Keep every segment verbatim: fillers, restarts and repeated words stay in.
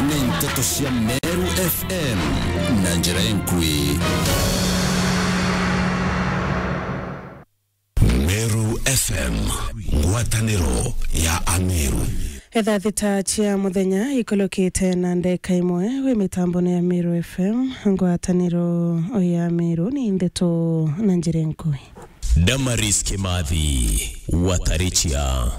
Ni nteto cia Meru F M na njira inkui. Meru F M, ngwataniro ya Ameru. Etha thita cia muthenya ikulukite na ndeka imwe, wi mitambone ya Meru F M, ngwataniro ya Meru, ni ndeto na njira inkui. Damaris Kimathi, Watarichia.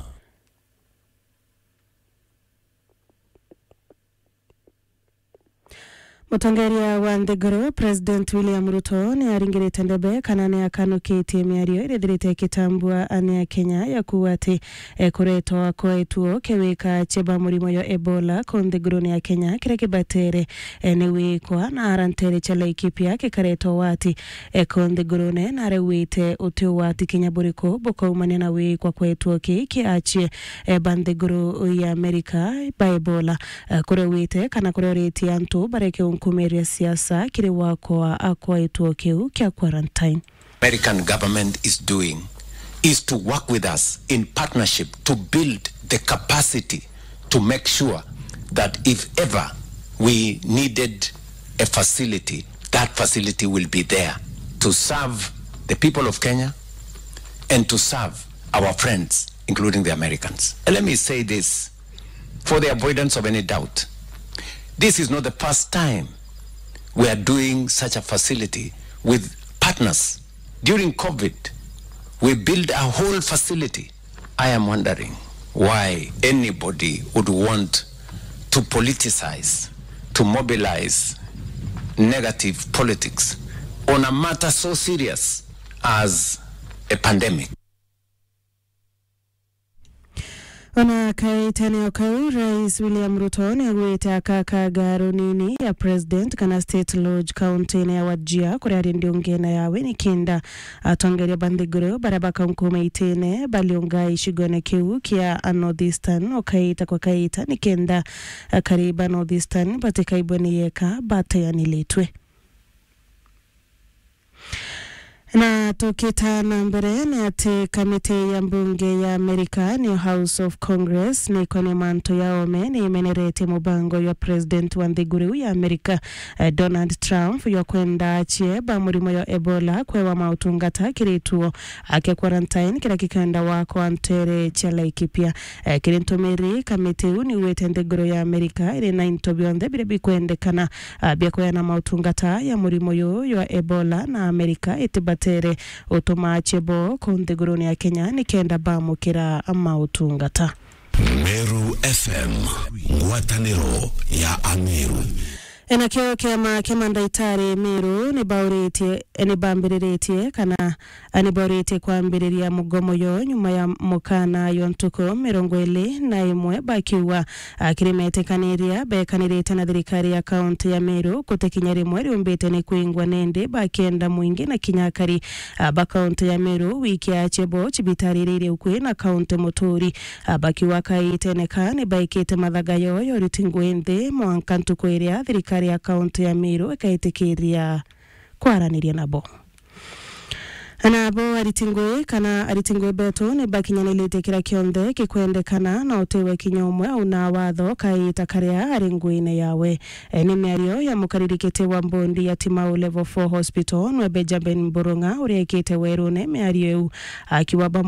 Mutongeria wa nthiguru, President William Ruto, ni aringirite ndebe kana ni akanukitie miario iria ithirite ikitambua ni Akenya ya kuuga ati, e, kuretwa kwa gituo kia wika cia ba murimo ya Ebola ku nthigurune ya Kenya kiria kibatere, e, ni wikwa na ara ntere cia Laikipia gikaretwa wati, e, ku nthigurune, na araugite uti wati kinya buriku bukaumania na wikwa kwa gituo kii kia achie, e, ba nthiguru ya Amerika ba Ebola. Eh, kuria wite kana kuria uritie antu bareke unkumiria siasa kiri wakwa akwa gituo kiu kia quarantine. American government is doing is to work with us in partnership to build the capacity to make sure that if ever we needed a facility, that facility will be there to serve the people of Kenya and to serve our friends, including the Americans. And let me say this, for the avoidance of any doubt, this is not the first time we are doing such a facility with partners. During COVID, we built a whole facility. I am wondering why anybody would want to politicize, to mobilize negative politics on a matter so serious as a pandemic. Ona kaitene o kau, Rais William Ruto ni agwite akakaga runini ya President kana State Lodge kaunti-ini ya Wajir, kuria ari ndiungene yawe ni kenda atongeria ba nthiguru baria bakaunkuuma itine baliunga icigone kiu kia a North Eastern o kaita kwa kaita ni kenda akari ba North Eastern batikaigwe ni yeka bateanilitwe. Na tukita na mbere ni ati kamiti ya mbunge ya Amerika, niyo House of Congress, ni ikonio mantu ya ome ni imeneretie mubango ya president wa nthiguru ya Amerika, eh, Donald Trump, ya kwenda achie ba murimo ya Ebola kwewa mautungata kiri gituo kia quarantine kiria kikenda wakwa ntere cia Laikipia. Eh, kiri ntumiri, kamiti iu ni igwite nthiguru ya Amerika iri na into bionthe biria bikwendekana, ah, bia kweana mautungata ya murimo uyu jwa Ebola, na Amerika itibatere utuma achie bo ku nthigurune ya Kenya ni kenda bamukira mautungata. Meru F M, ngwataniro ya Ameru. Enakio kiama kia mandaitari Meru ni bauritie, ni bambiriritie kana ni bauritie kwambiriria mugomo yo nyuma ya mukana yo ntuku mirongo iri na imwe bakiuga, ah, kiri metikaniria bekanirite na thirikari ya kaunti ya Meru, guti kinya rimwe riumbite ni kwingwa nindi bakenda mwingi na kinya akari, ah, ba kaunti ya Meru wiki achie bo cibitari iria iri ukui na kaunti muturi. Ah, bakiuga kaitene ka ni baikite mathaga yo ya uriti ngui nthi mwanka ntuku iria thirikari ya kaunti ya Meru ikaitikiria kwaraniria nabo. Nabo ariti ngui kana ariti ngui betu ni bakinyanilite kiria kionthe gikwendekana na utiwe kinya umwe auna watho kaita karia ari nguine yawe. E, ni miario ya mukariri kiti wa mbondi ya Timau Level four Hospital, nwe Benjamin Mburung'a, uria ekite werune miario iu akiuga bamwe